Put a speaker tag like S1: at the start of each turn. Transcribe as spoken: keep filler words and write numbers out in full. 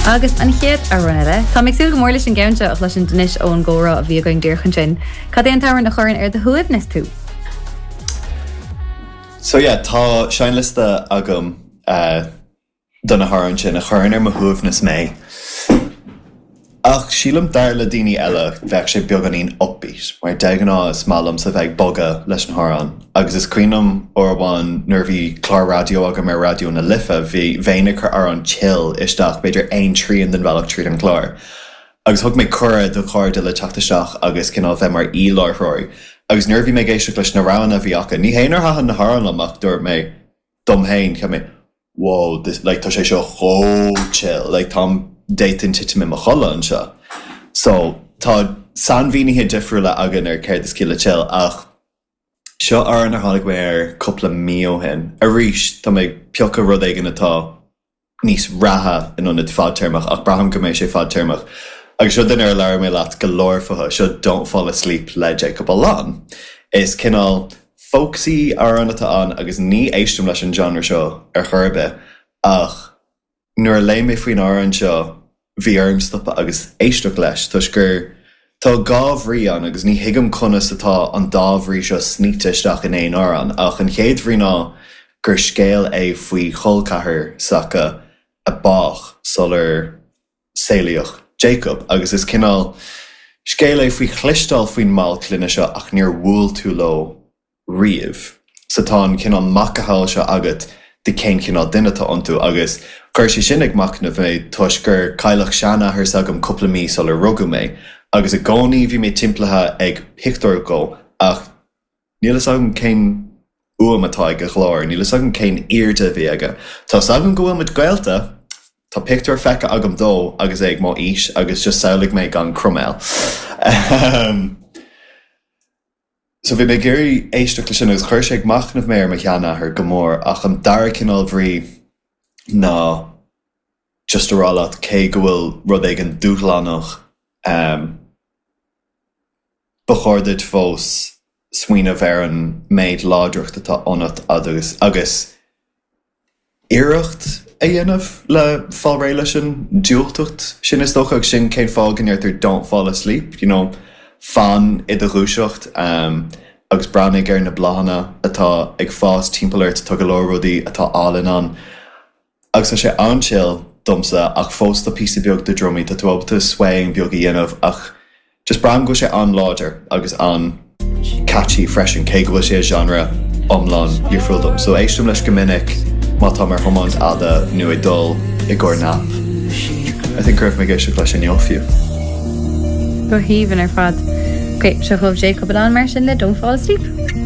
S1: Agus an chéad amhrán eile, Tá mé ag súil go mór leis an gceann seo a chloisint anois ón gcomhrá a bhí againn díreach ansin. Cad é an t-amhrán a chuireann ar do shuaimhneas tú?
S2: So yeah, tá seinnliosta agam uh, do na hamhráin sin a chuireann ar mo shuaimhneas mé. Ach sílim dar le daoine eile bheadh sé beagáinín upbeat, mar de ghnáth is maith liomsa bheith ag bogadh leis na hamhráin. Agus is cuimhin liom uair amháin nuair a bhí clár raidió agam ar Raidió na Life, bhí bheinn ag cur amhrán chill isteach b'fhéidir aon trian den bhealach tríd an chlár. Agus thug mé cuireadh do chairde le teacht isteach agus cineál bheith mar aoi-láithreoirí. Agus nuair a bhí mé ag éisteacht leis na roghanna a bhí acu, ní hé nár thaitin na hamhráin liom ach dúirt mé dom féin cheap mé, Whoa, this, like, tá sé seo chomh chill, like, táim d'fhéadfainn titim i mo chodladh anseo. So tá sainmhínithe difriúla againn ar céard is ciall le chill ach seo amhrán ar tháinig mé air cúpla mí ó shin. Arís tá mé ag piocadh rud éigin atá níos reatha in ionad fadtéarmach ach braithim go mbeidh sé fadtéarmach. Agus seo duine ar labhair mé leat go leor fúthu, seo Don't Fall Asleep le Jacob Alon. Is cineál folksy amhrán atá ann agus ní éistim leis an genre seo ar chor ar bith ach nuair a léigh mé faoin amhrán seo bhí orm stopadh agus éisteacht leis toisc gur tá dhá bhrí ann agus ní thuigim conas atá an dá bhrí seo snoite isteach in aon amhrán ach an chéad bhrí ná gur scéal é faoi chol ceathar s'acu a bádh sular saolaíodh Jacob agus is cineál scéal é faoi chloisteáil faoin mball clainne seo ach níor bhuail tú leo riamh. So tá an cineál macasamhail seo agat de cén cineál duine atá iontu agus chuir sé sin ag machnamh mé toisc gur cailleadh seanathair s'agam cúpla mí sular rugadh mé agus i gcónaí bhí mé timpeallaithe ag pictiúr dó ach níl a fhios agam cén fhuaim atá ag a ghlór, níl a fhios agam cén airde a bhí aige. Tá a fhios agam go bhfuil muid gaolta, Tá pictiúr feicthe agam dó agus é ag mo aois agus just samhlaigh mé gan croiméal. Um, so bhí mé ag iarraidh éisteacht leis sin agus chuir sé ag machnamh mé ar mo sheanathair go mór ach an dara cineál bhrí ná just a rá leat cé go bhfuil rud éigin dúshlánach um, ba chóir duit fós smaoineamh ar an méid láidreacht atá ionat agus agus iarracht a dhéanamh le fáil réidh leis an diúltacht sin is dócha agus sin cén fáth go ndeirtear don't fall asleep, you know, fan i do dhúiseacht um, agus breathnaigh ar na bláthanna atá ag fás timpeall ort tá go leor rudaí atá álainn ann. Agus tá sé an-chill domsa ach fós tá píosa beag de drumaí tá tú ábalta swaying beag a dhéanamh ach just braithim go bhfuil sé an-láidir agus an-catchy freisin cé go bhfuil sé genre iomlán difriúil dom. So éistim leis go minic má tá mar thiomáint fhada nó ag dul i gcomhair nap. I think go raibh mé ag éisteacht leis inniu fiú.
S1: Go haoibhinn ar fad. Ok, seo chugaibh Jacob Alon mar sin le Don't Fall Asleep.